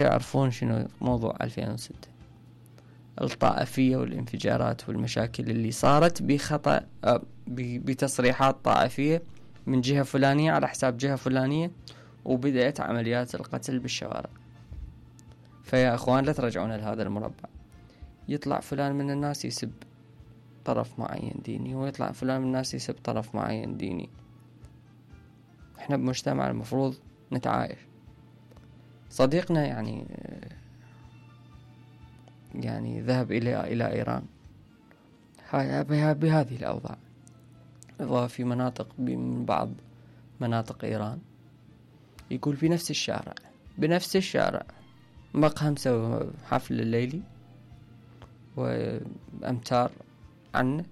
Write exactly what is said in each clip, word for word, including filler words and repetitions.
يعرفون شنو موضوع ألفين وستة، الطائفية والانفجارات والمشاكل اللي صارت بخطأ بتصريحات طائفية من جهة فلانية على حساب جهة فلانية، وبدأت عمليات القتل بالشوارع. فيا اخوان لا ترجعون لهذا المربع. يطلع فلان من الناس يسب طرف معين ديني، ويطلع فلان من الناس يسب طرف معين ديني. احنا بمجتمع المفروض نتعايش. صديقنا يعني يعني ذهب إلى إلى إيران بهذه الأوضاع، وفي مناطق من بعض مناطق إيران يقول في نفس الشارع بنفس الشارع مقهى مسوي حفل الليلي، وأمتار عنه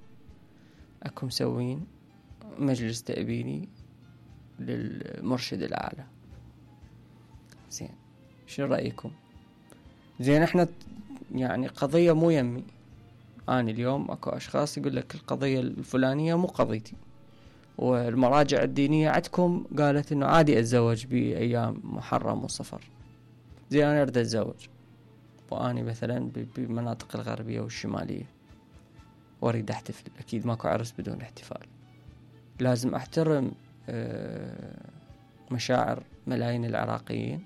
أكو مسوين مجلس تأبيني للمرشد الأعلى. زين، شو رأيكم؟ زين، احنا يعني قضية مو يمي. أنا اليوم أكو أشخاص يقول لك القضية الفلانية مو قضيتي، والمراجع الدينية عندكم قالت إنه عادي أتزوج بأيام محرم وصفر. زين، أنا أريد أتزوج وأنا مثلا بمناطق الغربية والشمالية وأريد أحتفل، أكيد ماكو عرس بدون احتفال. لازم أحترم مشاعر ملايين العراقيين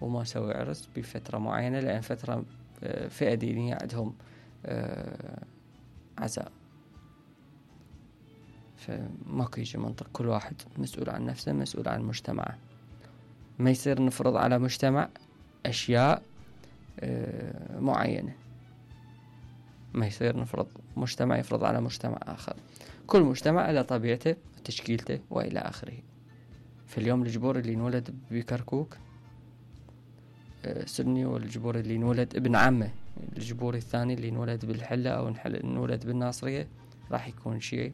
وما أسوي عرس بفترة معينة، لأن فترة فئة دينية عندهم عزاء. فماكو يجي منطق، كل واحد مسؤول عن نفسه، مسؤول عن مجتمعه. ما يصير نفرض على مجتمع أشياء معينة، ما يصير نفرض مجتمع يفرض على مجتمع آخر. كل مجتمع له طبيعته وتشكيلته وإلى آخره. في اليوم الجبور اللي نولد بكركوك سني، والجبور اللي نولد ابن عمه الجبور الثاني اللي نولد بالحلة أو نولد بالناصرية راح يكون شيعي.